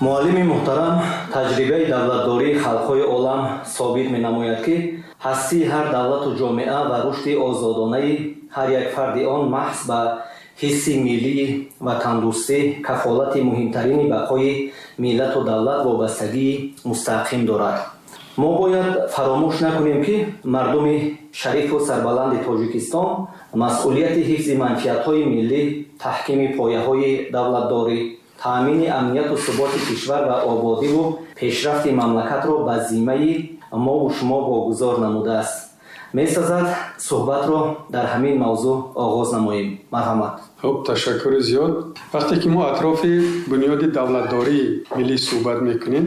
Муаллими муҳтарам, таҷрибаи давлатдории халқҳои олам собит менамояд, ки ҳастии ҳар давлату ҷомеа ва рушди озодонаи ҳар як фарди он маҳз ба ҳисси миллии ватандӯстӣ, кафолати муҳимтарини бақои миллату давлат вобастагии мустаҳкам дорад. Мо бояд фаромӯш накунем, ки мардуми шарифу сарбаланди Тоҷикистон масъулияти ҳифзи манфиатҳои миллӣ, таҳкими пояҳои давлатдорӣ, таъмини амнияту суботи кишвар ва ободиву пешрафти мамлакатро ба зиммаи мову шумо вогузор намудааст. Месазад суҳбатро дар ҳамин мавзӯъ оғоз намоем. Марҳамат. Хуб, ташаккури зиёд. Вақте ки мо атрофи бунёди давлатдории миллӣ суҳбат мекунем,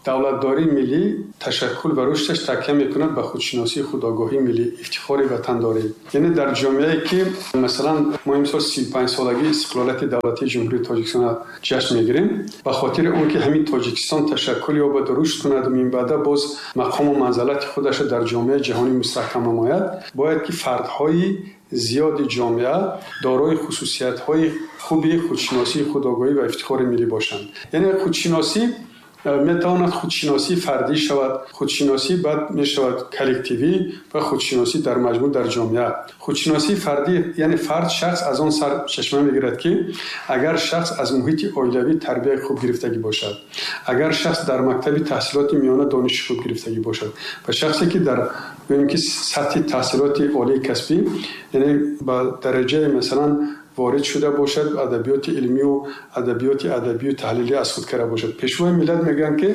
давлатдории миллӣ ташаккул ва рушдаш такя мекунад ба худшиносии худогоҳии миллӣ, ифтихори ватандорӣ. Яъне дар ҷомеае ки масалан мо имсол 35-солагии истиқлолияти давлатии Ҷумҳурии Тоҷикистонро ҷашн мегирем, ба хотири он ки ҳамин Тоҷикистон ташаккул ёбад, рушд кунад ва минбаъда боз мақому манзалати худашро дар ҷомеаи ҷаҳонӣ мустаҳкам намояд, бояд ки фардҳои зиёди ҷомеа дорои хусусиятҳои хуби худшиносии худогоҳӣ ва ифтихори миллӣ бошанд. Яъне худшиносӣ метавонад худшиносии фардӣ шавад, худшиносӣ баъд мешавад коллективӣ ва худшиносӣ дар маҷмӯъ дар ҷомеа. Худшиносии фардӣ яъне фард, шахс аз он сар чашма мегирад, ки агар шахс аз муҳити оилавӣ тарбияи хуб гирифтагӣ бошад, агар шахс дар мактаби таҳсилоти миёна дониши хуб гирифтагӣ бошад ва шахсе ки дар гӯем ки сатҳи таҳсилоти олии касбӣ, яъне ба дараҷаи масалан ворид шуда бошад, адабиёти илмию адабиёти адабию таҳлилӣ аз худ карда бошад. Пешвои миллат мегӯянд, ки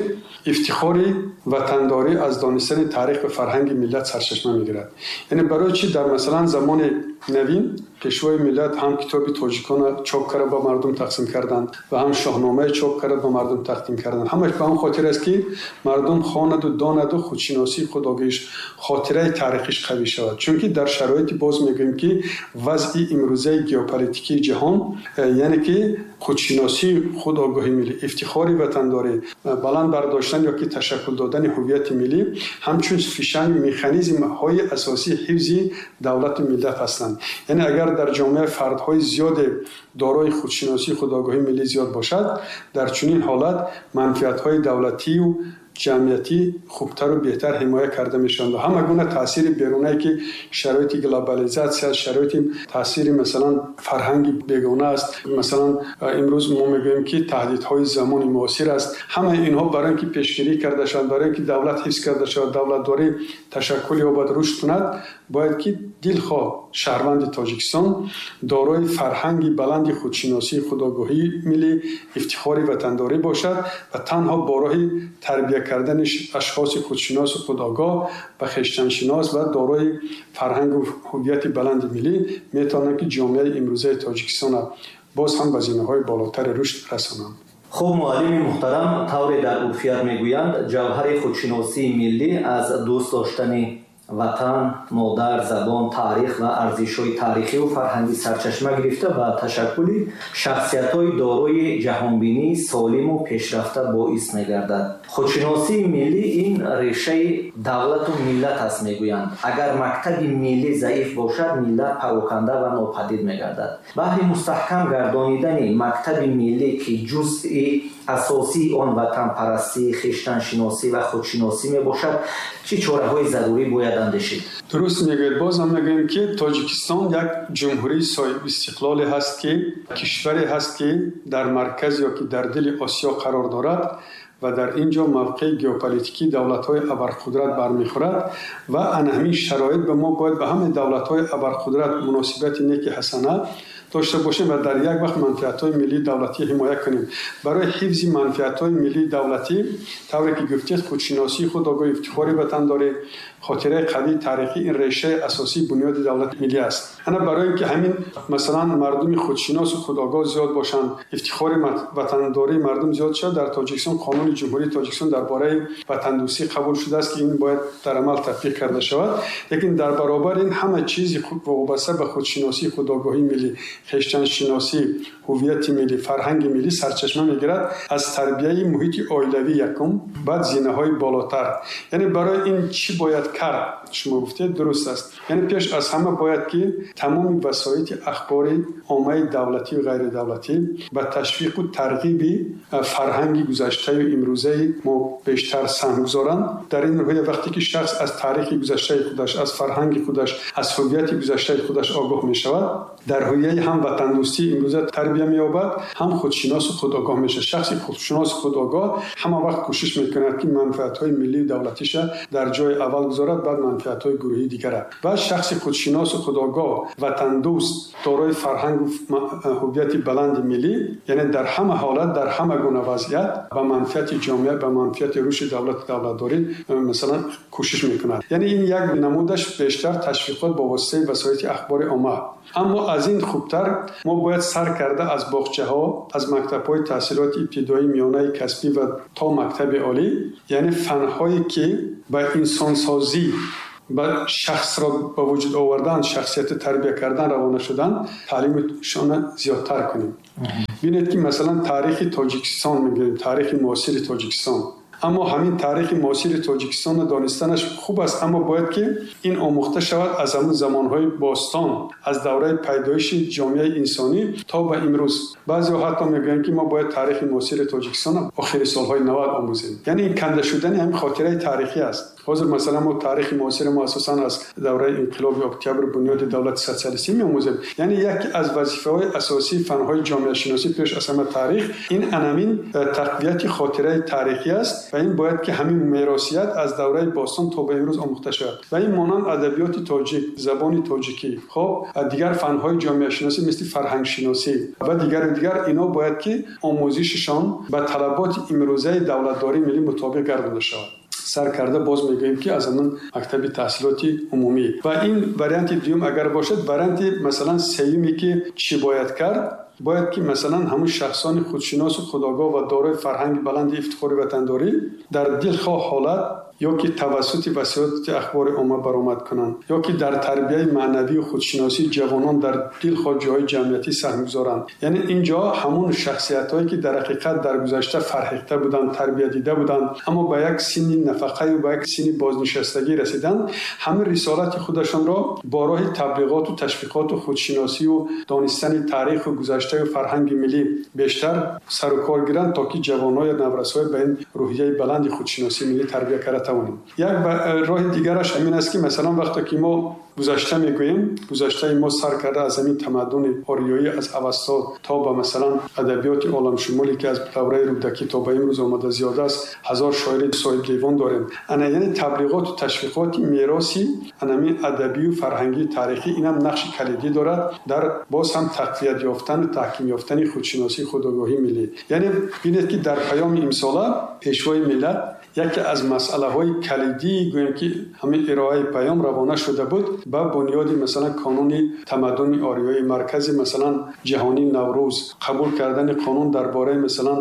ифтихори ватандорӣ аз донистани таърих ва фарҳанги миллат сарчашма мегирад. Яъне барои чӣ дар масалан замони навин пешвои миллат ҳам китоби тоҷикона чоп карда ба мардум тақсим карданд ва ҳам шоҳномае чоп карда ба мардум тақдим карданд. Ҳамаш ба он хотир аст, ки мардум хонаду донаду худшиносии худогоҳиш, хотираи таърихиш қавӣ шавад. Чунки дар шароити боз мегӯем, ки вазъи имрӯзаи геополитикии ҷаҳон, яъне ки худшиносии худогоҳи миллӣ, ифтихори ватандорӣ, баланд бардоштан ё ки ташаккул додани ҳувияти миллӣ ҳамчун фишанг механизмҳои асосии ҳифзи давлату миллат ҳастанд. Яъне агар дар ҷомеа фардҳои зиёде дорои худшиносии худогоҳии миллӣ зиёд бошад, дар чунин ҳолат манфиатҳои давлатию ҷамъиятӣ хубтару беҳтар ҳимоя карда мешаванд ва ҳама гуна таъсири берунае ки шароити глобализатсия, шароити таъсири масалан фарҳанги бегона аст, масалан имрӯз мо мегӯем ки таҳдидҳои замони муосир аст, ҳамаи инҳо барои ин ки пешгирӣ карда шаванд, барои ин ки давлат ҳифз карда шавад, давлатдорӣ ташаккул ёбад, рушд кунад, бояд ки дилхоҳ шаҳрванди Тоҷикистон дорои фарҳанги баланди худшиносии худогоҳии миллӣ, ифтихори ватандорӣ бошад ва танҳо бо роҳи тарбия кардани ашхоси худшиносу худогоҳ ва хештаншинос ва дорои фарҳангу ҳувияти баланди миллӣ метавонанд, ки ҷомеаи имрӯзаи Тоҷикистонро боз ҳам ба зинаҳои болотари рушд расонанд. Хуб, муаллими муҳтарам, тавре дар урфият мегӯянд, ҷавҳари худшиносии миллӣ аз дӯст доштани ватан, модар, забон, таърих ва арзишҳои таърихиву фарҳангӣ сарчашма гирифта ба ташаккули шахсиятҳои дорои ҷаҳонбинии солиму пешрафта боис мегардад. Худшиносии миллӣ ин решаи давлату миллат аст, мегӯянд. Агар мактаби миллӣ заиф бошад, миллат пароканда ва нопадид мегардад. Баҳри мустаҳкам гардонидани мактаби миллӣ, ки ҷузъи асосии он ватанпарастӣ, хештаншиносӣ ва худшиносӣ мебошад, чӣ чораҳои зарурӣ бояд андешид? Дуруст мегӯед. Боз ҳам мегӯем, ки Тоҷикистон як ҷумҳурии соҳибистиқлоле ҳаст, ки кишваре ҳаст, ки дар марказ ё ки дар дили Осиё қарор дорад ва дар ин ҷо мавқеи геополитикии давлатҳои абарқудрат бармехӯрад ва ана ҳамин шароит ба мо бояд ба ҳамаи давлатҳои абарқудрат муносибати неки ҳасана дошта бошем ва дар як вақт манфиатҳои миллии давлатӣ ҳимоя кунем. Барои ҳифзи манфиатҳои миллии давлатӣ, тавре ки гуфтед, худшиносии худогоҳӣ, ифтихори ватандорӣ, хотираи қавии таърихӣ ин решаи асосии бунёди давлати миллӣ аст. Ана барои ин ки ҳамин масалан мардуми худшиносу худогоҳ зиёд бошанд, ифтихори ватандории мардум зиёд шавад, дар Тоҷикистон қонуни Ҷумҳурии Тоҷикистон дар бораи ватандӯстӣ қабул шудааст, ки ин бояд дар амал татбиқ карда шавад. Лекин дар баробари ин ҳама чизи вобаста ба худшиносии худогоҳии миллӣ, Хештаншиносӣ, ҳувияти миллӣ, фарҳанги миллӣ сарчашма мегирад аз тарбияи муҳити оилавӣ якум, баъд зинаҳои болотар. Яъне барои ин чӣ бояд кард? Шумо гуфтед дуруст аст. Яъне пеш аз ҳама бояд ки тамоми васоити ахбори оммаи давлатию ғайридавлатӣ ба ташвиқу тарғиби фарҳанги гузаштаю имрӯзаи мо бештар саҳм гузоранд. Дар ин рӯҳия вақте ки шахс аз таърихи гузаштаи худаш, аз фарҳанги худаш, аз ҳувияти гузаштаи худаш огоҳ мешавад, дар ҳувияи ҳам ватандӯстии имрӯза тарбия меёбад, ҳам худшиносу худогоҳ мешавад. Шахси худшиносу худогоҳ ҳама вақт кӯшиш мекунад, ки манфиатҳои миллию давлатиша дар ҷои аввал гузорад, баъд манфиатҳои гурӯҳии дигара. Ва шахси худшиносу худогоҳ, ватандӯст, дорои фарҳангу ҳувияти баланди миллӣ, яъне дар ҳама ҳолат, дар ҳама гуна вазъият ба манфиати ҷомеа, ба манфиати рушди давлату давлатдорӣ масалан кӯшиш мекунад. Яъне ин як намудаш бештар ташвиқот бо воситаи васоити ахбори омма. Аммо аз ин хубтар мо бояд сар карда аз боғчаҳо, аз мактабҳои таҳсилоти ибтидоӣ, миёнаи касбӣ ва то мактаби олӣ, яъне фанҳое ки ба инсонсозӣ, ба шахсро ба вуҷуд овардан, шахсияти тарбия кардан равона шудан, таълимшонро зиёдтар кунем. Бинед ки масалан таърихи Тоҷикистон мегӯем, таърихи муосири Тоҷикистон. Аммо ҳамин таърихи муосири Тоҷикистонро донистанаш хуб аст, аммо бояд ки ин омӯхта шавад аз ҳамун замонҳои бостон, аз давраи пайдоиши ҷомеаи инсонӣ то ба имрӯз. Баъзеҳо ҳатто мегӯянд, ки мо бояд таърихи муосири Тоҷикистонро охири солҳои 90 омӯзем. Яъне ин канда шудани ҳамин хотираи таърихӣ аст. Ҳозир масалан мо таърихи муосири мо асосан аз давраи инқилоби октябр, бунёди давлати социалистӣ меомӯзем. Яъне яке аз вазифаҳои асосии фанҳои ҷомеашиносӣ пеш аз ҳама таърих ин анамин тақвияти хотираи таърихӣ аст ва ин бояд ки ҳамин меросият аз давраи бостон то ба имрӯз омӯхта шавад. Ва ин монанд адабиёти тоҷик, забони тоҷикӣ, хоб дигар фанҳои ҷомеашиносӣ мисли фарҳангшиносӣ ва дигару дигар, ино бояд ки омӯзишашон ба талаботи имрӯзаи давлатдории миллӣ мутобиқ гардонда шавад. Сар карда боз мегӯем ки аз ҳамон мактаби таҳсилоти умумӣ. Ва ин варианти дуюм агар бошад, варианти масалан сеюме ки чӣ бояд кард, бояд ки масалан ҳамун шахсони худшиносу худогоҳ ва дорои фарҳанги баланди ифтихори ватандорӣ дар дилхоҳ ҳолат ё ки тавассути васоити ахбори омма баромад кунанд, ё ки дар тарбияи маънавию худшиносии ҷавонон дар дилхоҳ ҷойҳои ҷамъиятӣ саҳм гузоранд. Яъне ин ҷо ҳамун шахсиятҳое ки дар ҳақиқат дар гузашта фарҳехта буданд, тарбия дида буданд, аммо ба як синни нафақаю ба як синни бознишастагӣ расиданд, ҳамин рисолати худашонро бо роҳи таблиғоту ташвиқоту худшиносию донистани таъриху гузаштаю фарҳанги миллӣ бештар сару кор гиранд, то ки ҷавонҳои наврасҳои ба ин рӯҳияи баланди худшиносии миллӣ тарбия карда тавонем. Як роҳи дигараш ҳамин аст ки масалан вақте ки мо гузашта мегӯем, гузаштаи мо сар карда аз ҳамин тамаддуни ориёӣ, аз Авасто то ба масалан адабиёти оламшумуле ки аз давраи Рӯдакӣ то ба имрӯз омада зиёда аст, 1000 шоири соҳибдевон дорем. Ана яъне таблиғоту ташвиқоти мероси анамин адабию фарҳангии таърихӣ инам нақши калидӣ дорад дар боз ҳам тақвият ёфтану таҳким ёфтани худшиносии худогоҳии миллӣ. Яъне бинед ки дар паёми имсола Пешвои миллат яке аз масъалаҳои калидӣ гӯем ки ҳамин ироаи паём равона шуда буд ба бунёди масалан қонуни тамаддуни ориёӣ, маркази масалан ҷаҳонии Наврӯз, қабул кардани қонун дар бораи масалан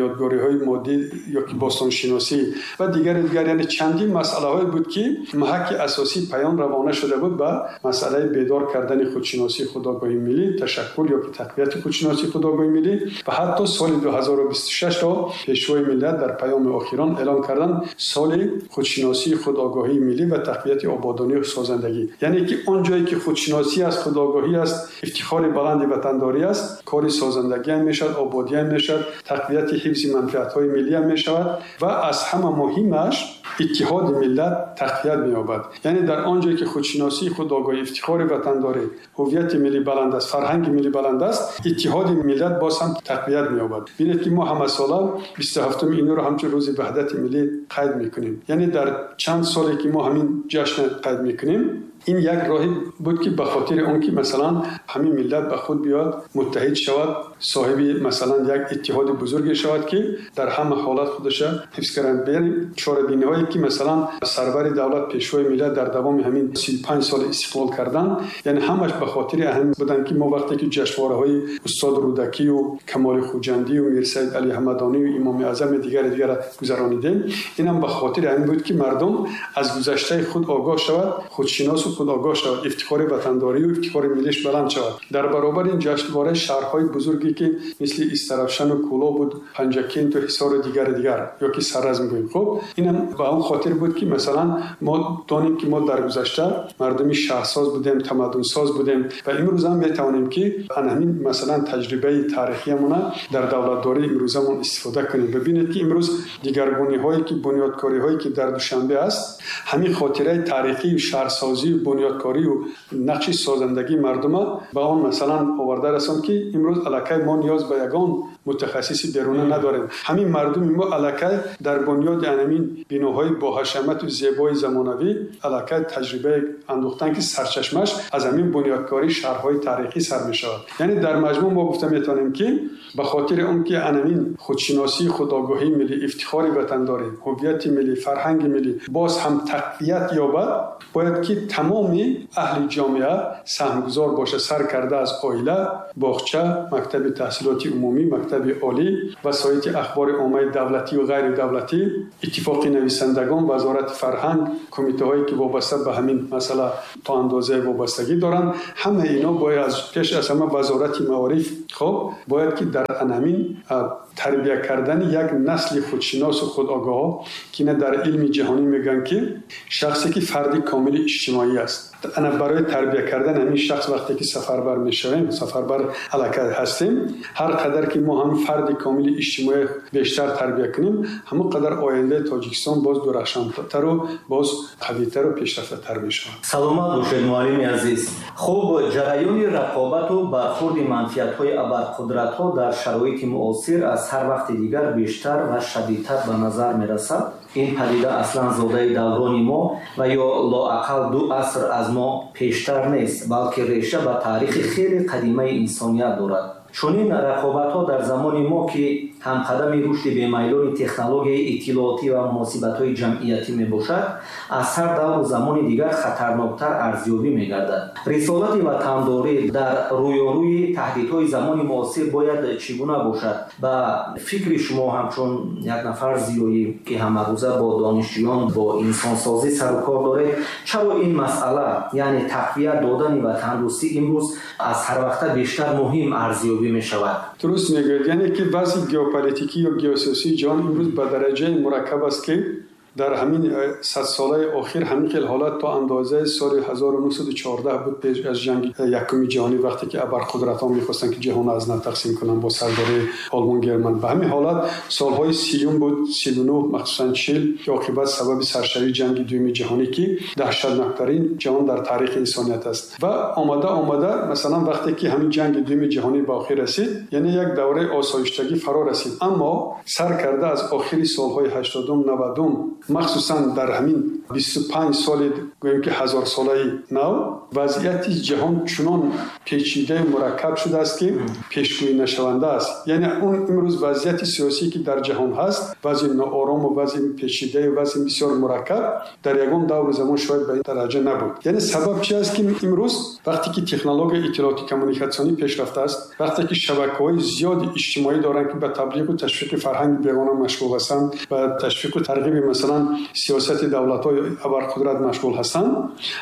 ёдгориҳои моддӣ ё ки бостоншиносӣ ва дигару дигар. Яъне чандин масъалаҳое буд ки маҳаки асосии паём равона шуда буд ба масъалаи бедор кардани худшиносии худогоҳии миллӣ, ташаккул ё ки тақвияти худшиносии худогоҳии миллӣ ва ҳатто соли 2026-ро Пешвои миллат дар паёми охирон эълон кардан соли худшиносии худогоҳии миллӣ ва тақвияти ободонию созандагӣ. Яъне ки он ҷое ки худшиносӣ аст, худогоҳӣ аст, ифтихори баланди ватандорӣ аст, кори созандагӣ ҳам мешавад, ободӣ ҳам мешавад, тақвияти ҳифзи манфиатҳои миллӣ ҳам мешавад ва аз ҳама муҳимаш иттиҳоди миллат тақвият меёбад. Яъне дар он ҷое ки худшиносии худогоҳӣ, ифтихори ватандорӣ, ҳувияти миллӣ баланд аст, фарҳанги миллӣ баланд аст, иттиҳоди миллат боз ҳам тақвият меёбад. Бинед ки мо ҳамасола 27 июнро ҳамчун рӯзи ваҳдати миллӣ қайд мекунем. Яъне дар чанд соле ки мо ҳамин ҷашн қайд мекунем, ин як роҳе буд ки ба хотири он ки масалан ҳамин миллат ба худ биёд, муттаҳид шавад, соҳиби масалан як иттиҳоди бузурге шавад ки дар ҳама ҳолат худаша ҳифз кунад. Яъне чорабиниҳое ки масалан сарвари давлат, Пешвои миллат дар давоми ҳамин 35 соли истиқлол кардан, яъне ҳамаш ба хотири ҳамин буданд ки мо вақте ки ҷашнвораҳои устод Рӯдакию Камоли Хуҷандию Мирсаид Али Ҳамадонию Имоми Аъзами дигари дигара гузаронидем, инам ба хотири ҳамин буд ки мардум аз гузаштаи худ огоҳ шавад, худшиносу худогоҳ шавад, ифтихори ватандорӣ ва ифтихори миллиш баланд шавад. Дар баробари ин ҷашнвораи шаҳрҳои бузурге ки мисли Истаравшан ва Кӯлоб буд, Панҷакент ва Ҳисор ва дигар дигар ё ки Саразм гӯем. Хуб, инам ба он хотир буд ки масалан мо донем ки мо дар гузашта мардуми шаҳрсоз будем, тамаддунсоз будем ва имрӯз ҳам метавонем ки ҳамин масалан таҷрибаи таърихиамонро дар давлатдории имрӯзамон истифода кунем. Бибинед ки имрӯз дигаргуниҳое ки бунёдкориҳое ки дар Душанбе аст, ҳамин хотираи таърихии шаҳрсозӣ, бунёдкорӣ ва нақши созандагии мардума ба он масалан оварда расонд ки имрӯз аллакай мо ниёз ба ягон мутахассиси беруна надорем. Ҳамин мардуми мо аллакай дар бунёди ҳамин биноҳои боҳашамату зебои замонавӣ аллакай таҷрибае андӯхтанд ки сарчашмаш аз ҳамин бунёдкории шаҳрҳои таърихӣ сар мешавад. Яъне дар маҷмӯъ мо гуфта метавонем ки ба хотири он ки ҳамин худшиносӣ, худогоҳии миллӣ, ифтихори ватандорӣ, ҳувияти миллӣ, фарҳанги миллӣ боз ҳам тақвият ёбад, бояд ки тамоми аҳли ҷомеа саҳмгузор бошад, сар карда аз оила, боғча, мактаби таҳсилоти умумӣ, мактаби олӣ, васоити ахбори оммаи давлатӣ ва ғайридавлатӣ, иттифоқи нависандагон, вазорати фарҳанг, кумитаҳое ки вобаста ба ҳамин масъала то андозае вобастагӣ доранд. Ҳамаи ино бояд аз пеш аз ҳама вазорати маориф, хуб, бояд ки дар ҳамин тарбия кардани як насли худшиносу худогоҳ, ки ина дар илми ҷаҳонӣ мегӯянд ки шахсе ки фарди комили иҷтимоӣ аст. Ана барои тарбия кардани ҳамин шахс вақте ки сафарбар мешавем, сафарбар аллакай ҳастем, ҳар қадар ки мо ҳам фарди комили иҷтимоӣ бештар тарбия кунем, ҳамон қадар ояндаи Тоҷикистон боз дурахшонтару боз қавитару пешрафтатар мешавад. Саломат бошед, муаллими азиз. Хуб, ҷараёни рақобату бархурди манфиатҳои абарқудратҳо дар шароити муосир аз ҳар вақти дигар бештар ва шадидтар ба назар мерасад. Ин падида аслан зодаи даврони мо ва ё лоақал 2 аср аз мо пештар нест, балки реша ба таърихи хеле қадимаи инсоният дорад. Чунин рақобатҳо дар замони мо ки ҳамқадами рушди бемайлони технологияи иттилоотӣ ва муносибатҳои ҷамъиятӣ мебошад, аз ҳар давру замони дигар хатарноктар арзёбӣ мегардад. Рисолати ватандорӣ дар рӯёрӯи таҳдидҳои замони муосир бояд чӣ гуна бошад? Ба фикри шумо ҳамчун як нафар зиёӣ ки ҳамарӯза бо донишҷӯён, бо инсонсозӣ сару кор доред, чаро ин масъала, яъне тақвият додани ватандӯстӣ имрӯз аз ҳар вақта бештар муҳим арзёбӣ мешавад? Дуруст мегӯед, яъне ки вазъи геополитикӣ ё геосиёсии ҷаҳон имрӯз ба дараҷаи мураккаб аст ки дар ҳамин 100 солаи охир ҳамин хел ҳолат то андозаи соли 1914 буд, пеш аз ҷанги якуми ҷаҳонӣ, вақте ки абарқудратҳо мехостанд ки ҷаҳонро аз нав тақсим кунанд бо сардории Олмон, Герман. Ба ҳамин ҳолат солҳои 30-юм буд, 39, махсусан 40, ки оқибат сабаби саршавии ҷанги дуюми ҷаҳонӣ, ки даҳшатноктарин ҷаҳон дар таърихи инсоният аст. Ва омада омада, масалан, вақте ки ҳамин ҷанги дуюми ҷаҳонӣ ба охир расид, яъне як давраи осоиштагӣ фаро расид. Аммо сар карда аз охири солҳои 80-ум, 90-ум, махсусан дар ҳамин 25 соли гӯем ки ҳазорсолаи нав, вазъияти ҷаҳон чунон печидаю мураккаб шудааст ки пешгӯӣ нашаванда аст. Яъне он имрӯз вазъияти сиёсие ки дар ҷаҳон ҳаст, вазъи ноорому, вазъи печидаю вазъи бисёр мураккаб, дар ягон давру замон шояд ба ин дараҷа набуд. Яъне сабаб чи аст ки имрӯз вақте ки технологияи иттилоотӣ коммуникатсионӣ пешрафта аст, вақте ки шабакаҳои зиёди иҷтимоӣ доранд, ки ба таблиғу ташвиқи фарҳанги бегона машғул ҳастанд, ба ташвиқу тарғиби масалан сиёсати давлатҳои абарқудрат машғул ҳастанд,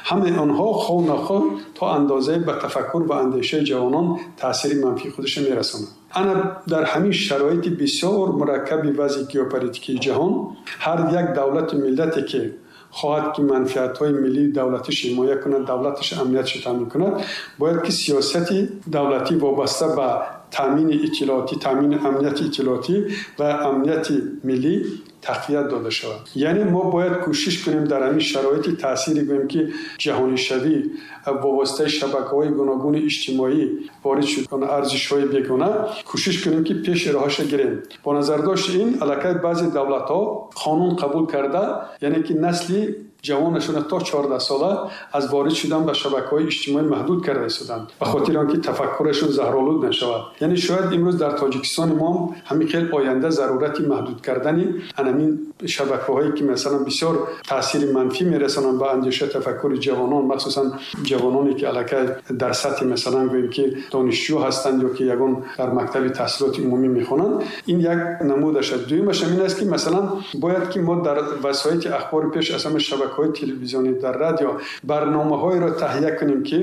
ҳамаи онҳо хоҳ нахоҳ то андозае ба тафаккур ва андешаи ҷавонон таъсири манфии худашро мерасонанд. Ана дар ҳамин шароити бисёр мураккаби вазъи геополитикии ҷаҳон ҳар як давлату миллате ки хоҳад ки манфиатҳои миллии давлатиш ҳимоя кунад, давлаташ амниятш таъмин кунад, бояд ки сиёсати давлатӣ вобаста ба таъмини иттилоотӣ, таъмини амнияти иттилоотӣ ва амнияти миллӣ тақвият дода шавад. Яъне мо бояд кӯшиш кунем дар ҳамин шароити таъсири, гӯем ки, ҷаҳонишавӣ бо воситаи шабакаҳои гуногуни иҷтимоӣ ворид шуд арзишҳои бегона, кӯшиш кунем ки пеши роҳаша гирем. Бо назардошти ин аллакай баъзе давлатҳо қонун қабул карда, яъне ки насли ҷавонашонро то 14 сола аз ворид шудан ба шабакаҳои иҷтимоӣ маҳдуд карда истоданд, ба хотири он ки тафаккурашон заҳролуд нашавад. Яъне шояд имрӯз дар Тоҷикистони мо ҳамин хел оянда зарурати маҳдуд кардани анамин шабакаҳое ки масалан бисёр таъсири манфӣ мерасонанд ба андеша, тафаккури ҷавонон, махсусан ҷавононе ки аллакай дар сатҳи, масалан, гӯем ки донишҷӯ ҳастанд ё ки ягон дар мактаби таҳсилоти умумӣ мехонанд. Ин як намудаш аст. Дуюмаш ҳамин аст ки масалан бояд ки мо дар васоити ахбори, пеш аз ҳама шабакаҳои Шабакаҳои телевизионӣ, дар радио барномаҳоеро таҳия кунем, ки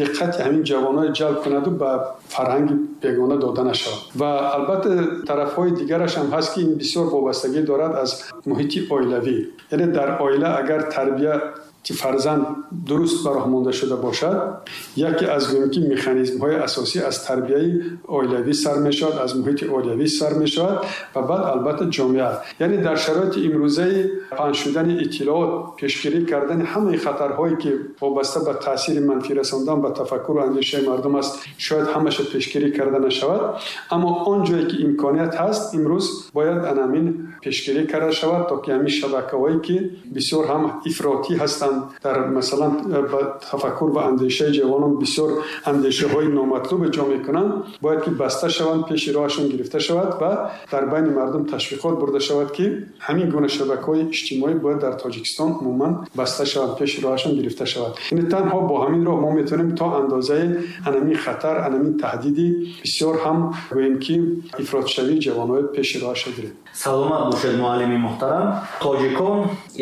диққати ҳамин ҷавонҳоро ҷалб кунад ва ба фарҳанги бегона дода нашавад. Ва албатта тарафҳои дигараш ҳам ҳаст, ки ин бисёр вобастагӣ дорад аз муҳити оилавӣ. Яъне дар оила агар тарбия фарзанд дуруст ба роҳ монда шуда бошад, яке аз гӯем ки механизмҳои асосӣ аз тарбияи оилавӣ сар мешавад, аз муҳити оилавӣ сар мешавад ва баъд албатта ҷомеа. Яъне дар шароити имрӯзаи паҳн шудани иттилоот, пешгирӣ кардани ҳамаи хатарҳое ки вобаста ба таъсири манфӣ расондан ба тафаккуру андешаи мардум аст, шояд ҳамаша пешгирӣ карда нашавад, аммо он ҷое ки имконият ҳаст, имрӯз бояд анамин пешгирӣ карда шавад, то ки ҳамин шабакаҳое ки бисёр ҳам ифротӣ ҳастанд, дар масалан ба тафаккур ва андешаи ҷавонон бисёр андешаҳои номатлуб ҷо мекунанд, бояд ки баста шаванд, пеши роҳашон гирифта шавад ва дар байни мардум ташвиқот бурда шавад, ки ҳамин гуна шабакаҳои иҷтимоӣ бояд дар Тоҷикистон умуман баста шаванд, пеши роҳашон гирифта шавад. Яъне танҳо бо ҳамин роҳ мо метавонем то андозаи анамин хатар, анамин таҳдиди бисёр ҳам гӯем ки ифротшавии ҷавонҳои пеши роҳаша гирем. Саломат бошед, муаллими муҳтарам. Тоҷикон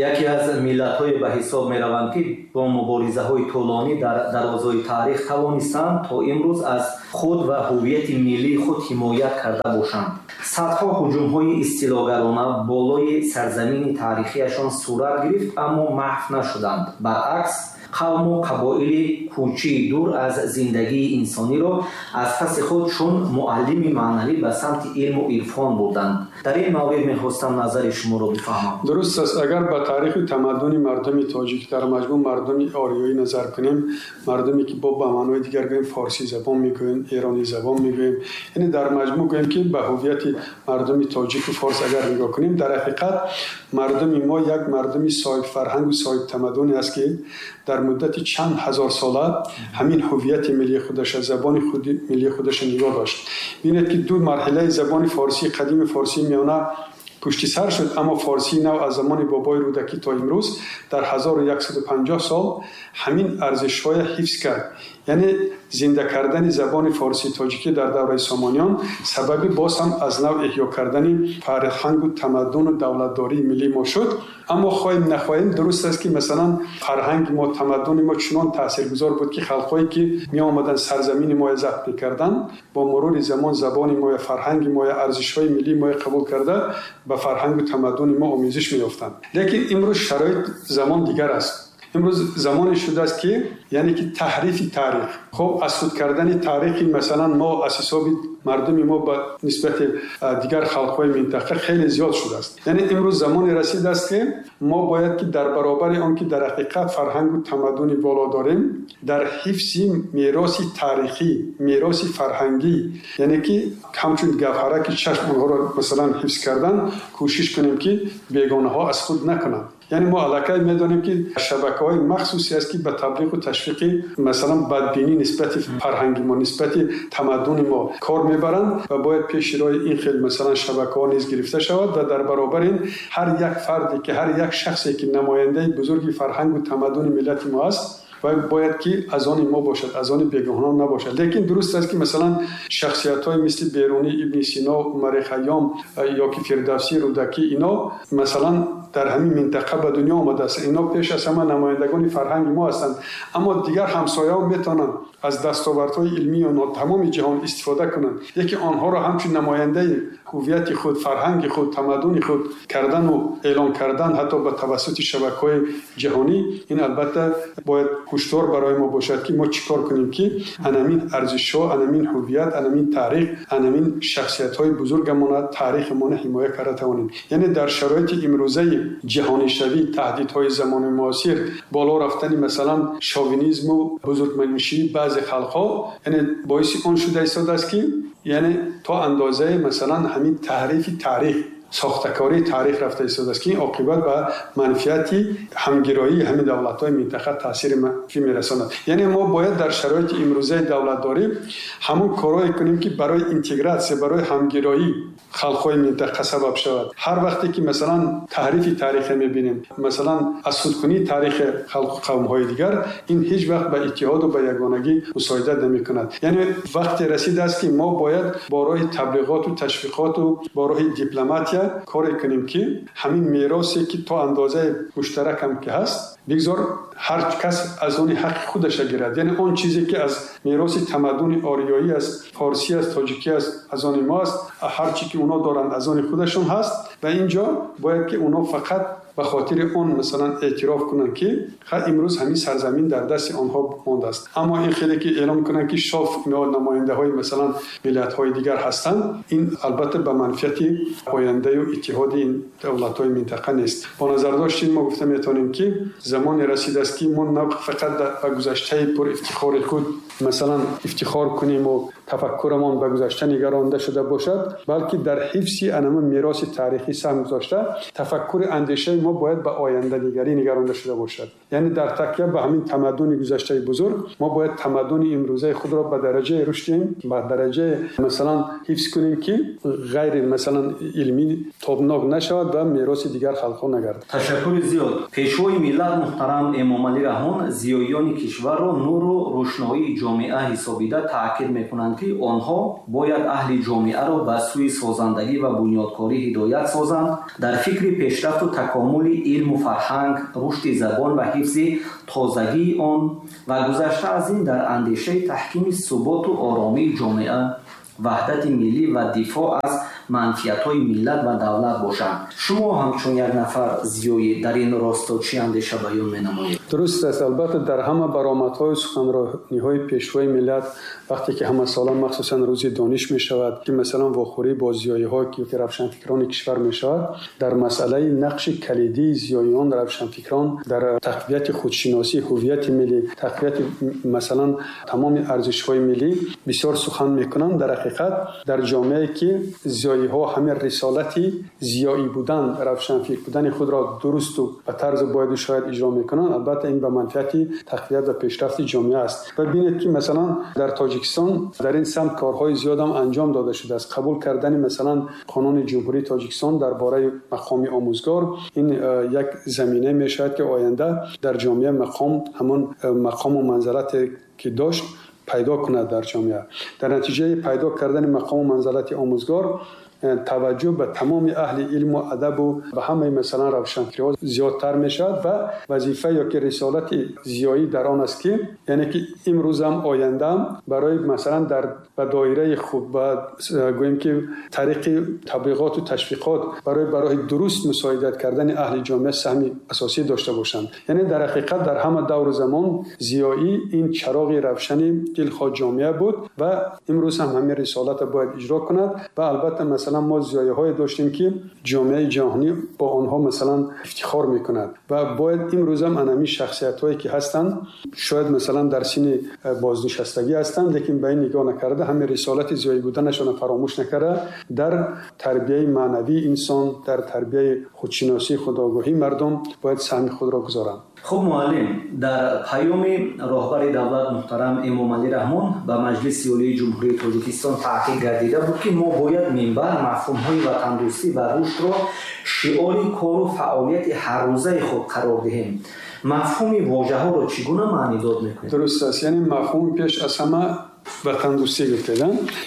яке аз миллатҳое ба ҳисоб мераванд, ки бо муборизаҳои тӯлонӣ дар дарозои таърих тавонистанд то имрӯз аз худ ва ҳуввияти миллии худ ҳимоят карда бошанд. Садҳо ҳуҷумҳои истилогарона болои сарзамини таърихиашон сурат гирифт, аммо маҳв нашуданд. Баръакс, қавму қабоили кӯчии дур аз зиндагии инсониро аз паси худ чун муаллими маънавӣ ба самти илму ирфон бурданд. Дар ин маврид мехостам назари шуморо бифаҳмам. Дуруст аст. Агар ба таъриху тамаддуни мардуми тоҷик, дар маҷмӯъ мардуми ориёӣ назар кунем, мардуме ки бо ба маънои дигар гӯем форсӣ забон мегӯем, эронӣ забон мегӯем, яъне дар маҷмӯъ гӯем ки ба ҳуввияти мардуми тоҷику форс агар нигоҳ кунем, дар ҳақиқат мардуми мо як мардуми соҳибфарҳангу соҳибтамаддуне аст, ки дар муддати чанд ҳазор сола ҳамин ҳуввияти миллии худаша, забони худи миллии худаша нигоҳ дошт. Бинед ки ду марҳилаи забони форсии қадими форсии миёна пушти сар шуд, аммо форсии нав аз замони бобои Рӯдакӣ то имрӯз дар 1150 сол ҳамин арзишҳоя ҳифз кард. Яъне зинда кардани забони форсии тоҷикӣ дар давраи Сомониён сабаби боз ҳам аз нав эҳё кардани фарҳангу тамаддуну давлатдории миллии мо шуд. Аммо хоҳем нахоҳем, дуруст аст ки масалан фарҳанги мо, тамаддуни мо чунон таъсиргузор буд, ки халқҳое ки меомаданд сарзамини моя забт мекарданд, бо мурури замон забони моя, фарҳанги моя, арзишҳои миллии моя қабул карда ба фарҳангу тамаддуни мо омезиш меёфтанд. Лекин имрӯз шароит замон дигар аст. Имрӯз замоне шудааст, ки яъне ки таҳрифи таърих, хуб аз худ кардани таърихи масалан мо аз ҳисоби мардуми мо ба нисбати дигар халқҳои минтақа хеле зиёд шудааст. Яъне имрӯз замоне расидааст, ки мо бояд ки дар баробари он ки дар ҳақиқат фарҳангу тамаддуни боло дорем, дар ҳифзи мероси таърихӣ, мероси фарҳангӣ, яъне ки ҳамчун гавҳараки чашм онҳоро масалан ҳифз кардан, кӯшиш кунем, ки бегонаҳо аз худ накунанд. Яъне мо аллакай медонем, ки шабакаҳои махсусе аст, ки ба таблиғу ташвиқи масалан бадбинӣ нисбати фарҳанги мо, нисбати тамаддуни мо кор мебаранд ва бояд пеши роҳи ин хел масалан шабакаҳо низ гирифта шавад ва дар баробари ин ҳар як фарде ки, ҳар як шахсе ки намояндаи бузурги фарҳангу тамаддуни миллати мо аст, бояд ки аз они мо бошад, аз они бегоҳонон набошад. Лекин дуруст аст, ки масалан шахсиятҳои мисли Берунӣ, Ибни Сино, Умари Хайём ё ки Фирдавсӣ, Рӯдакӣ, ино масалан дар ҳамин минтақа ба дунё омадааст. Ино пеш аз ҳама намояндагони фарҳанги мо ҳастанд, аммо дигар ҳамсояҳо метавонанд аз дастовардҳои илмии онҳо тамоми ҷаҳон истифода кунанд, лекин онҳоро ҳамчун намояндаи ҳуввияти худ, фарҳанги худ, тамаддуни худ кардану эълон кардан ҳатто ба тавассути шабакаҳои ҷаҳонӣ, ин албатта бояд ҳушдор барои мо бошад, ки мо чӣ кор кунем, ки анамин арзишҳо, анамин ҳуввият, анамин таърих, анамин шахсиятҳои бузургамона, таърихамона ҳимоя карда тавонем. Яъне дар шароити имрӯзаи ҷаҳонишавӣ, таҳдидҳои замони муосир, боло рафтани масалан шовинизму бузургманишии баъзе халқҳо, яъне боиси он шуда истодааст, ки яъне то андозаи масалан ҳамин таҳрифи таърих, сохтакории таърих рафта истодааст, ки ин оқибат ба манфиати ҳамгироии ҳамин давлатҳои минтақа таъсири манфӣ мерасонад. Яъне мо бояд дар шароити имрӯзаи давлатдорӣ ҳамон корҳое кунем, ки барои интегратсия, барои ҳамгироӣ халқҳои минтақа сабаб шавад. Ҳар вақте ки масалан таҳрифи таърихе мебинем, масалан аз худкунии таърихи халқу қавмҳои дигар, ин ҳеҷ вақт ба иттиҳоду ба ягонагӣ мусоидат намекунад. Яъне вақте расидааст, ки мо бояд бо роҳи таблиғоту ташвиқоту бо роҳи дипломатия коре кунем, ки ҳамин меросе, ки то андозаи муштаракам ки ҳаст, бигзор ҳар кас аз они ҳаққи худаша гирад. Яъне он чизе, ки аз мероси тамаддуни ориёӣ аст, форсӣ аст, тоҷикӣ аст, аз они мо аст, ҳар чи ки онҳо доранд, аз они худашон ҳаст. Ва инҷо бояд ки онҳо фақат ба хотири он масалан эътироф кунанд, ки имрӯз ҳамин сарзамин дар дасти онҳо мондааст. Аммо ин хеле ки эълон кунанд, ки шоф инҳо намояндаҳои масалан миллатҳои дигар ҳастанд, ин албатта ба манфиати ояндаю иттиҳоди ин давлатҳои минтақа нест. Бо назардошти ин мо гуфта метавонем, ки замоне расидааст, ки мо на фақат ба гузаштаи пур ифтихори худ масалан ифтихор кунем ва тафаккурамон ба гузашта нигаронда шуда бошад, балки дар ҳифзи анама мероси таърихӣ саҳм гузошта, тафаккури андешаи мо бояд ба оянданигарӣ нигаронда шуда бошад. Яъне дар такя ба ҳамин тамаддуни гузаштаи бузург мо бояд тамаддуни имрӯзаи худро ба дараҷаи рушд диҳем, ба дараҷаи масалан ҳифз кунем, ки ғайри масалан илмӣ тобнок нашавад ва мероси дигар халқҳо нагардад. Ташаккури зиёд. Пешвои миллат муҳтарам Эмомалӣ Раҳмон зиёиёни кишварро нуру рӯшноии ҷомеа ҳисобида таъкид мекунанд, ки онҳо бояд аҳли ҷомеаро ба сӯи созандагӣ ва бунёдкорӣ ҳидоят созанд, дар фикри пешрафту такомули илму фарҳанг, рушди забон ва ҳифзи тозагии он ва гузашта аз ин дар андешаи таҳкими суботу оромии ҷомеа, ваҳдати миллӣ ва дифоъ аз манфиатҳои миллат ва давлат бошанд. Шумо ҳамчун як нафар зиёӣ дар ин росто чӣ андеша баён менамоед? Дуруст аст. Албатта, дар ҳама баромадҳои суханрониҳои пешвои миллат, вақте ки ҳамасола махсусан рӯзи дониш мешавад, ки масалан вохӯрӣ бо зиёиҳо ки равшанфикрони кишвар мешавад, дар масъалаи нақши калидии зиёиён, равшанфикрон дар тақвияти худшиносӣ, ҳуввияти миллӣ, тақвияти масалан тамоми арзишҳои миллӣ бисёр сухан мекунанд. Дар ҳақиқат, дар ҷомеае, ки зиёиҳо ҳамин рисолати зиёӣ будан, равшанфикр будани худро дурусту ба тарзи бояду шояд иҷро мекунанд, албатта ин ба манфиати тақвият ва пешрафти ҷомеа аст. Ва бинед, ки масалан дар Тоҷикистон дар ин самт корҳои зиёдам анҷом дода шудааст. Қабул кардани масалан Қонуни Ҷумҳурии Тоҷикистон дар бораи мақоми омӯзгор, ин як замина мешавад, ки оянда дар ҷомеа мақом, ҳамон мақому манзалате ки дошт, пайдо кунад дар ҷомеа. Дар натиҷаи пайдо кардани мақому манзалати омӯзгор таваҷҷӯҳ ба тамоми аҳли илму адабу ба ҳамаи масалан равшанфикриҳо зиёдтар мешавад. Ва вазифа ё ки рисолати зиёӣ дар он аст, ки яъне ки имрӯзам, ояндаам барои масалан дар ба доираи худ, ба гӯем ки тариқи таблиғоту ташвиқот барои ба роҳи дуруст мусоидат кардани аҳли ҷомеа саҳми асосӣ дошта бошанд. Яъне дар ҳақиқат дар ҳама давру замон зиёӣ ин чароғи равшани дилхоҳ ҷомеа буд ва имрӯз ҳам ҳамин рисолатро бояд иҷро кунад. Ва албатта масалан мо зиёиҳое доштем, ки ҷомеаи ҷаҳонӣ бо онҳо масалан ифтихор мекунад ва бояд имрӯзам анами шахсиятҳое, ки ҳастанд, шояд масалан дар синни бознишастагӣ ҳастанд, лекин ба ин нигоҳ накарда, ҳамин рисолати зиёӣ буданашонро фаромӯш накарда, дар тарбияи маънавии инсон, дар тарбияи худшиносӣ, худогоҳии мардум бояд саҳми худро гузоранд. Хуб, муаллим, дар паёми роҳбари давлат муҳтарам Эмомалӣ Раҳмон ба Маҷлиси Олии Ҷумҳурии Тоҷикистон таъкид гардида буд, ки мо бояд минбаъд мафҳумҳои ватандӯстӣ ва рушдро шиори кору фаъолияти ҳаррӯзаи худ қарор диҳем. Мафҳуми вожаҳоро чӣ гуна маънидод мекунед? Дуруст аст. Яъне мафҳуми пеш аз ҳама ватандӯстӣ гуфтед,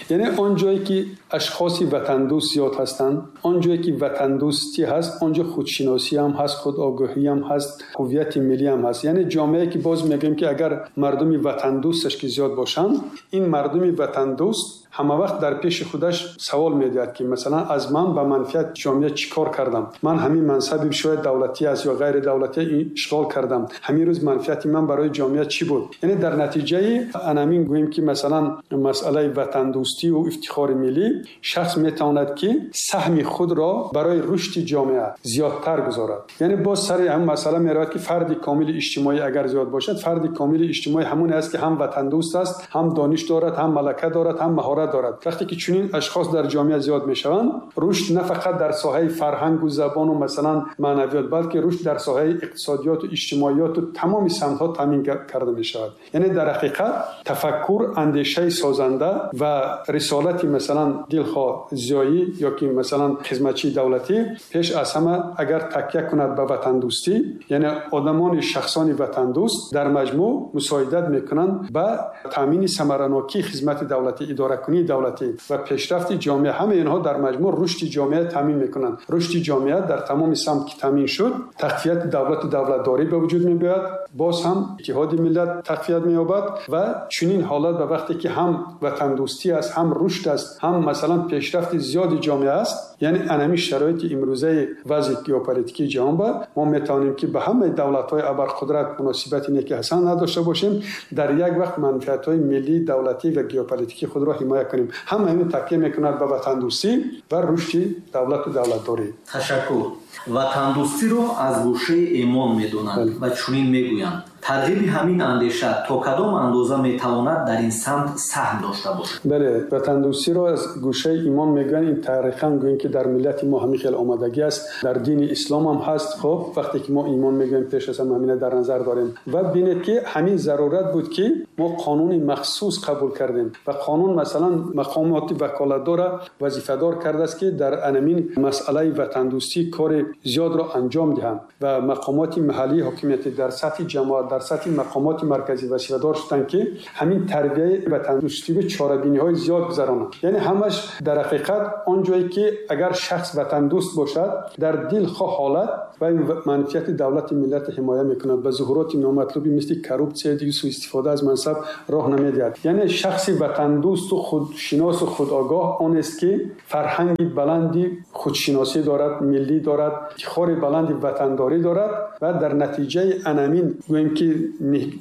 яъне он ҷое ки ашхоси ватандӯст зиёд ҳастанд, он ҷое ки ватандӯстӣ ҳаст, он ҷо худшиносӣ ҳам ҳаст, худогоҳӣ ҳам ҳаст, ҳуввияти миллӣ ҳам ҳаст. Яъне ҷомеае ки боз мегӯем, ки агар мардуми ватандӯсташ ки зиёд бошанд, ин мардуми ватандӯст ҳама вақт дар пеши худаш савол медиҳад, ки масалан аз ман ба манфиат ҷомеа чӣ кор кардам, ман ҳамин мансаби шояд давлатӣ аст ё ғайридавлатӣ ишғол кардам, ҳамин рӯз манфиати ман барои ҷомеа чӣ буд? Яъне дар натиҷаи анамин гӯем ки масалан масъалаи ватандӯстию ифтихори миллӣ шахс метавонад, ки саҳми худро барои рушди ҷомеа зиёдтар гузорад. Яъне боз сари ҳамин масъала меравад, ки фарди комили иҷтимоӣ агар зиёд бошад, фарди комили иҷтимоӣ ҳамоне аст, ки ҳам ватандӯст аст, ҳам дониш дорад, ҳам малака дорад, ҳам маҳорат дорад. Вақте ки чунин ашхос дар ҷомеа зиёд мешаванд, рушд на фақат дар соҳаи фарҳангу забону масалан маънавиёт, балки рушд дар соҳаи иқтисодиёту иҷтимоиёту тамоми самтҳо таъмин карда мешавад. Яъне дар ҳақиқат тафаккур, андешаи созанда ва рисолати масалан дилхоҳ зиёӣ ё ки масалан хизматчии давлатӣ пеш аз ҳама агар такя кунад ба ватандӯстӣ, яъне одамони шахсони ватандӯст дар маҷмӯъ мусоидат мекунанд ба таъмини самаранокии хизмати давлатӣ, идоракунӣ. идоракунии давлатӣ ва пешрафти ҷомеа, ҳамаи инҳо дар маҷмӯъ рушди ҷомеа таъмин мекунанд. Рушди ҷомеа дар тамоми самт ки таъмин шуд, тақвияти давлату давлатдорӣ ба вуҷуд меояд, боз ҳам иттиҳоди миллат тақвият меёбад ва чунин ҳолат ба вақте ки ҳам ватандӯстӣ аст, ҳам рушд аст, ҳам масалан пешрафти зиёди ҷомеа аст, яъне анами шароити имрӯзаи вазъи геополитикии ҷаҳон ба мо метавонем ки ба ҳамаи давлатҳои абарқудрат муносибати неки ҳасан надошта бошем, дар як вақт манфиатҳои миллӣ, давлатӣ ва геополитикии худро ҳимоя кунем. Ҳама ин такя мекунад ба ватандӯстӣ ва рушди давлату давлатдорӣ. Ташаккур. Ватандӯстиро аз гӯшаи имон медонанд ва чунин мегӯянд: тарғиби ҳамин андеша то кадом андоза метавонад дар ин самт саҳм дошта бошад? Бале, ватандӯстиро аз гӯшаи имон мегӯянд. Ин таърихан гӯем ки дар миллати мо ҳамин хел омадагӣ аст, дар дини ислом ҳам ҳаст. Хоб, вақте ки мо имон мегӯем, пеш аз ҳама ҳамина дар назар дорем. Ва бинед ки ҳамин зарурат буд ки мо қонуни махсус қабул кардем ва қонун масалан мақомоти ваколатдорро вазифадор кардааст ки дар анамин масъалаи ватандӯстӣ кори зиёдро анҷом диҳанд ва мақомоти маҳаллии ҳокимияти дар сатҳи ҷамоат, дар сатҳи мақомоти марказӣ вазифадор шуданд ки ҳамин тарбияи ватандӯстӣ ва чорабиниҳои зиёд гузаронанд. Яъне ҳамаш дар ҳақиқат он ҷое ки агар шахс ватандӯст бошад, дар дилхоҳ ҳолат ва манфиати давлати миллатро ҳимоя мекунад, ба зуҳуроти номатлуби мисли коррупсия, суистифода аз мансаб роҳ намедиҳад. Яъне шахси ватандӯсту худшиносу худогоҳ он аст ки фарҳанги баланди худшиносӣ дорад, миллӣ дорад, ифтихори баланди ватандорӣ дорад ва дар натиҷаи анамин гӯем ки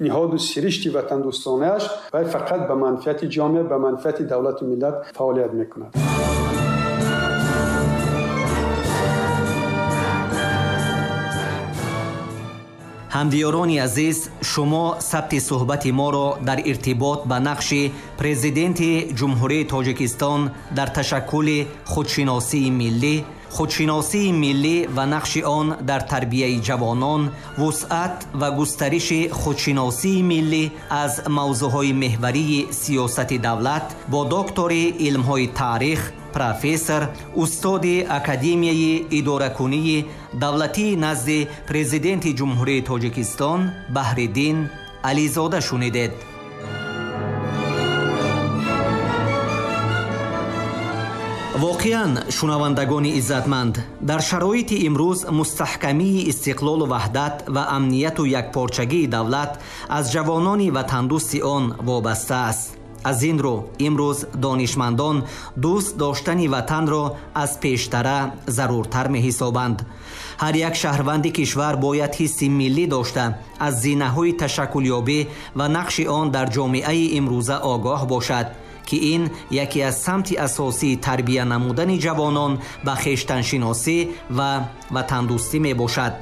ниҳоду сиришти ватандӯстонааш вай фақат ба манфиати ҷомеа, ба манфиати давлату миллат фаъолият мекунад. Ҳамдиёрони азиз, шумо сабти суҳбати моро дар иртибот ба нақши президенти Ҷумҳурии Тоҷикистон дар ташаккули худшиносии миллӣ, худшиносии миллӣ ва нақши он дар тарбияи ҷавонон, вусъат ва густариши худшиносии миллӣ аз мавзӯъҳои меҳварии сиёсати давлат бо доктори илмҳои таърих, профессор, устоди Академияи идоракунии давлатии назди президенти Ҷумҳурии Тоҷикистон Баҳриддин Ализода шунидед. Воқеан, шунавандагони иззатманд, дар шароити имрӯз мустаҳкамии истиқлолу ваҳдат ва амнияту якпорчагии давлат аз ҷавонони ватандӯсти он вобаста аст. Аз ин рӯ имрӯз донишмандон дӯст доштани ватанро аз пештара заруртар меҳисобанд. Ҳар як шаҳрванди кишвар бояд ҳисси миллӣ дошта, аз зинаҳои ташаккулёбӣ ва нақши он дар ҷомеаи имрӯза огоҳ бошад, ки ин яке аз самти асосии тарбия намудани ҷавонон ба хештаншиносӣ ва ватандӯстӣ мебошад.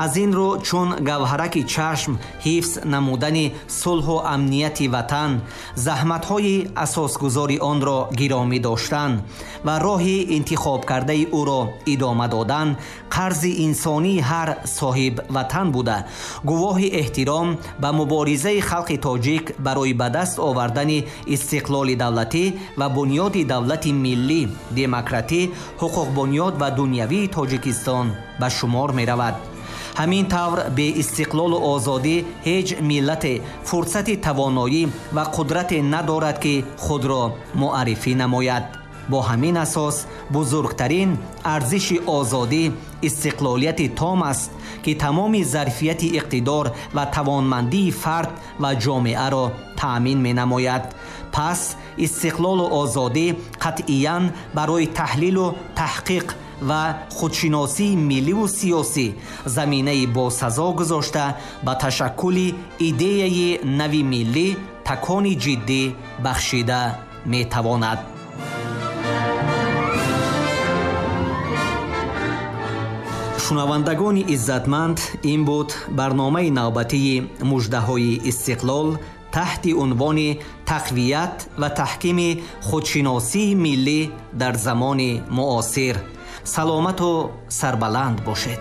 Аз ин рӯ чун гавҳараки чашм ҳифз намудани сулҳу амнияти ватан, заҳматҳои асосгузори онро гиромӣ доштан ва роҳи интихобкардаи ӯро идома додан қарзи инсонии ҳар соҳиб ватан буда, гувоҳи эҳтиром ба муборизаи халқи тоҷик барои ба даст овардани истиқлоли давлатӣ ва бунёди давлати миллӣ, демократӣ, ҳуқуқбунёд ва дунявии Тоҷикистон ба шумор меравад. Ҳамин тавр беистиқлолу озодӣ ҳеҷ миллате фурсати тавоноӣ ва қудрате надорад, ки худро муаррифӣ намояд. Бо ҳамин асос бузургтарин арзиши озодӣ истиқлолияти том аст, ки тамоми зарфияти иқтидор ва тавонмандии фард ва ҷомеаро таъмин менамояд. Пас истиқлолу озодӣ қатъиян барои таҳлилу таҳқиқ ва худшиносии милливу сиёсӣ заминаи босазо гузошта ба ташаккули идеяи нави миллӣ такони ҷиддӣ бахшида метавонад. Шунавандагони иззатманд, ин буд барномаи навбатии муждаҳои истиқлол таҳти унвони тақвият ва таҳкими худшиносии миллӣ дар замони муосир. Саломату сарбаланд бошед.